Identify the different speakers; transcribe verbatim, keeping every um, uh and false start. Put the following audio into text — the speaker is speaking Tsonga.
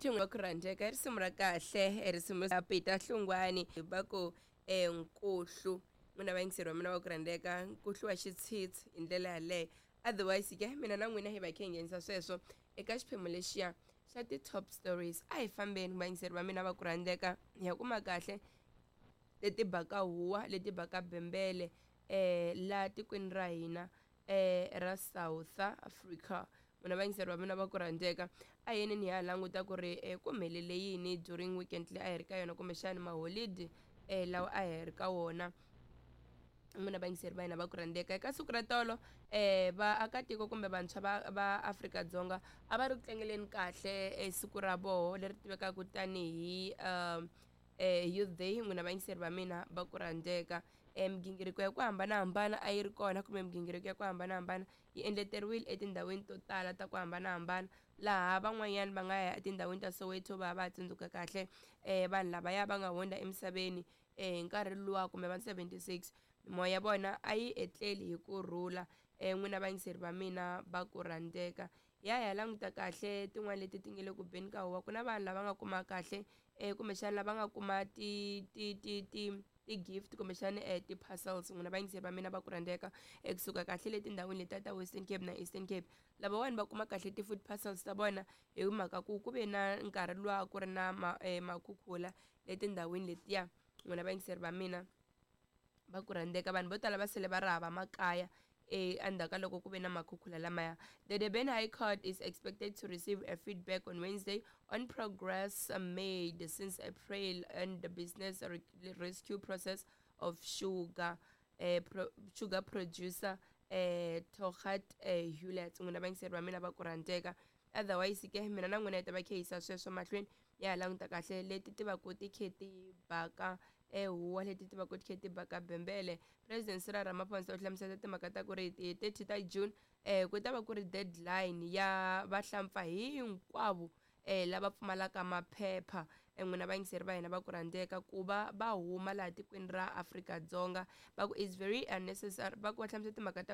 Speaker 1: Right, va ku rhandzeka i risimu ra kahle i risimu ra Peter Hlungwani va ku um nkuhlu. N'wina vayingiseri va mina va ku rhandzeka, nkuhlu wa xitshitshi hi ndlela yaleyo. Otherwise ke mina na n'wina hi va hi kha hi nghenisa sweswo eka xiphemu lexiya xa ti-top stories. A hi fambeni vayingiseri va mina va ku rhandzeka, hi ya kuma kahle leti baka huwa, leti baka bembele um laha tikweni ra hina um ra South Africa. N'wina vayingiseri va mina va ku rhandzeka, a hi yeni hi ya languta ku ri um ku humelele yini during weekend leyi a hi ri ka yona, kumbexani maholidi um lawa a hi ri ka wona. N'wina vayingiseri va hina va ku rhandzeka, eka siku ra tolo um vaakatiko kumbe vantshwa va va Afrika-Dzonga a va ri ku tlangeleni kahle e siku ra voho leri tivekaka tanihi um Youth Day. N'wina vayingiseri va mina va ku rhandzeka, um migingiriko ya ku hambanahambana a yi ri kona, kumbe migingiriko ya ku hambanahambana yi endleteriwile etindhawini to tala ta ku hambanahambana, laha van'wanyana va nga ya etindhawini ta Soweto va ya va ya tsundzuka kahle um vanhu lavaya va nga hundza emisaveni um hi nkarhi luwa kumbe va seventy six, mimoya ya vona a yi etleli hi kurhula. um N'wina vayingiseri va mina va ku rhandzeka, hi ya hi ya languta kahle tin'wani leti ti nga le ku beni ka huwa. Ku na vanhu lava nga kuma kahle um kumbexana lava nga kuma ti ti ti ti ti-gift kumbexana um ti-parcels. N'wina vayingiseri va mina va ku rhandzeka, kusuka kahle le tindhawini letiya ta Western Cape na Eastern Cape, lavawani va kuma kahle ti-food parcels ta vona hi mhaka ku ku ve na nkarhi luwa ku ri na ma makhukhula le tindhawini letiya. N'wina vayingiseri va mina va ku rhandzeka, vanhu vo tala va sele va ri hava makaya endzhaku ka loko ku ve na makhukhula lamaya. The Durban High Court is expected to receive a feedback on Wednesday on progress made since April and the business rescue process of sugar uh, pro, sugar producer uh, Togat uh, Hewlett. N'wina vayingiseri va mina va ku rhandzeka, otherwise ke mina na n'wina hi ta va khe yisa sweswo mahlweni, ya ha languta kahle leti ti va ku ti khe ti baka huwa, leti ti va ku ti khe ti baka bembele. President Cyril Ramaphosa u hlamusela timhaka ta ku ri hi thirty ta June um ku ta va ku ri deadline ya vahlampfa hinkwavo um lava pfumalaka maphepha, n'wina vayingiseri va hina va ku rhandzeka, ku va va huma laha tikweni ra Afrika-Dzonga. Va ku is very unnecessary, va ku va hlamusela timhaka ta